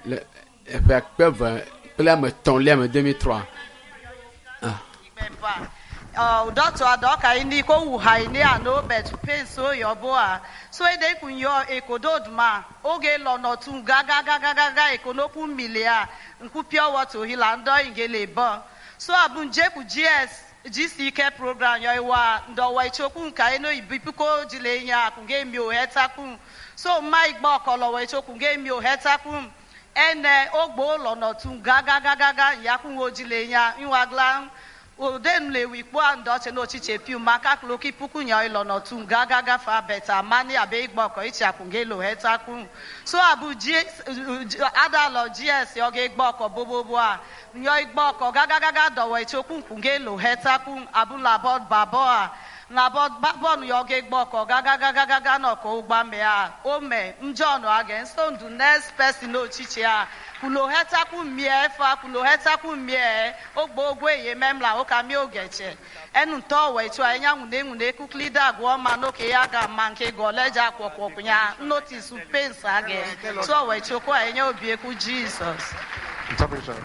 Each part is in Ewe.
Le eƒe akpe eve kple ame etɔ̃lia me 2003. Doctor adoka ini ko wu ha ini ano bet pain so yo boa so ede kun yo ekododuma oge lono tun gaga gaga gaga ekonoku milia nku pure water hila ndo ingele bo so abun je ku GS GCK program yo iwa ndo wa ichoku nka eno ibipuko jile nya kun ge mi o hetakun so ma igbo okolo wa ichoku ge mi o hetakun ene ogbo lono tun gaga gaga gaga yakun ojile nya inwagla odenu wikpo andoche n'ochiche piu maka kloki puku nya ilo n'otu gaga gafa beta mani abe igbo ọkọ ichi akungelo hetakun so abu g adalo gs oge igbo ọkọ bobobo a nyo igbo ọkọ gaga gaga dọwọ ichokwu nkungelo hetakun abu labod babo a labod babon yo oge igbo ọkọ gaga gaga gaga nọkọ ụgbame a ome njọnụ aga nso ndu next person n'ochiche a kulohetaku mie fa kulohetaku mie ogbo ogwe ye memla oka mi ogeche enu ntọ we chu anya nwune nwune kuklida agwọ ma n'oke ya ga ma nke goleja kwọkwọkwụ ya notice pains age so we chu kwa enya obi ekwu Jesus. Interpreter.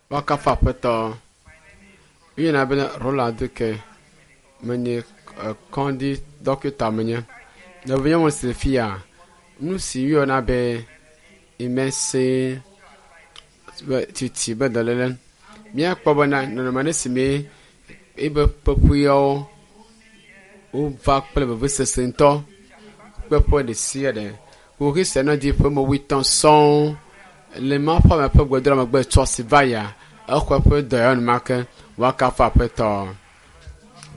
Wakafa aƒetɔ. Yina bena Roland ke menye kɔndi dɔkita menye. Nɔvinye mo si fia nu si woyɔna be imese be titi be dɔléle. Míakpɔ bena nɔnɔme ɖe si me ebe peƒuiawo wova kple vevesese ŋutɔ kpeƒe ɖe sia ɖe. Kuxi sia nɔ dzi ƒe me wuietɔ̃ sɔŋ le ma ƒe ame ƒe gbedoɖa megbe tsɔ si va yia exɔ eƒe dɔyɔ enumake woakafu aƒetɔ.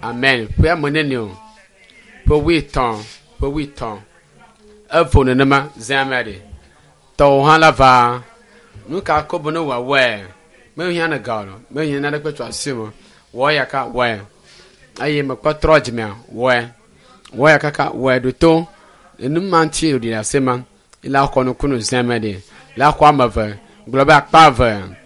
Amen. Ƒea me nene o. Ƒe wuietɔ̃, ƒe wuietɔ̃. Evo nenema zã amea ɖe. Tɔwò hã la va. Nu ka ko be ne wòawɔe? Mehiã ne ga o. Mehiã naneke tso asi me. Wɔ ya ka wɔe. Eye mekpɔ trɔ dzimea wɔe. Wɔ ya kaka wɔe ɖo to. Enu ma ŋuti wòɖi ɖe ase ma. Ila xɔ nukunu zã amea ɖe. La xɔ ame eve. Gblɔ be akpa eve.